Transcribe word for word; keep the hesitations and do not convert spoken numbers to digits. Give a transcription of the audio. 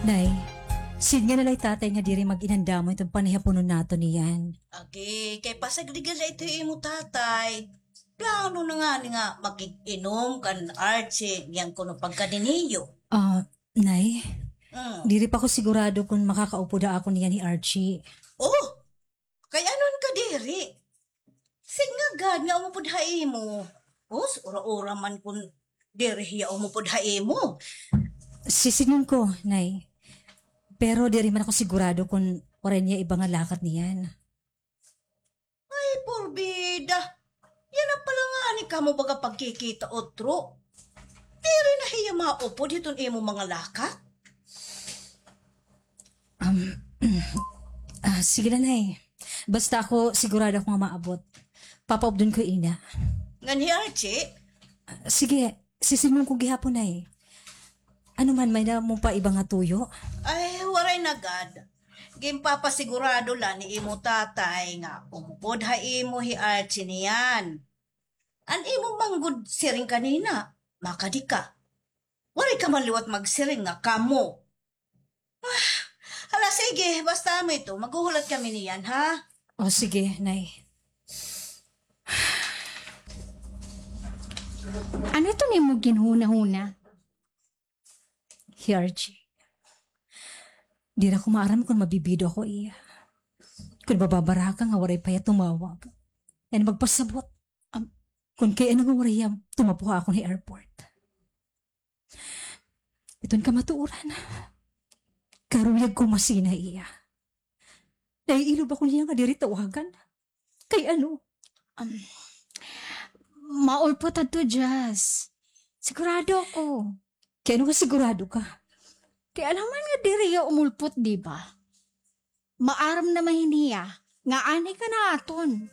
Nay, sidnga na la hi tatay nga diri mag-inandamon iton panihaponon naton niyan. Agi, kay pasagdigan la ito hi imo tatay. Plano na ngani nga makig-inom kan Archie niyan kuno pagkadi niyo. Ah, Nay, Mm. diri pa ko sigurado kon makakaupod ha akon niyan hi Archie. Oh, kay ano an kadiri? Sidnga gad nga umupod ha imo. Os, ura-ura man kon diri hiya umupod ha imo. Sisidngon ko, Nay. Pero diri man ako sigurado kon waray niya iba nga lakat niyan. Ay, porbida. Yana pala ngani kamo baga pagkikita utro. Diri na hiya maupod hiton imo mga lakat? Um, ah, sige la, Nay. Basta ako, sigurado ako nga maabot. Papaupdon ko ina. Ngan hi Archie? Ah, sige, sisidngon ko gihapon, Nay. Ano man, may-ada mo pa iba nga tuyo? Ay, waray na gad. Ginpapasigurado la ni imo tatay nga umupod ha imo hi Archie niyan. An imo man gud siring kanina, makadi ka. Waray ka man liwat magsiring nga kamo. Ah, hala, sige, basta amo ito, maghuhulat kami niyan, ha? O, sige, Nay. Ano ito nimo ginhuna-huna? Hi Archie. Diri ko maaram kon mabibido ako iya. Kon mababaraka nga waray pa iya tumawag. Ngan magpasabot. Am, kon kay ano nga waray iya tumapo ha akon ha airport. Iton kamatuoran. Karuyag ko masina iya. Naiilob ako niya nga diri tawagan. Kay ano? Um, maulpot adto, Jazz. Sigurado ako. Kay ano nga sigurado ka? Kay alangan nga diri hiya umulpot, di ba? Maaram naman hiya nga anhi ka naton.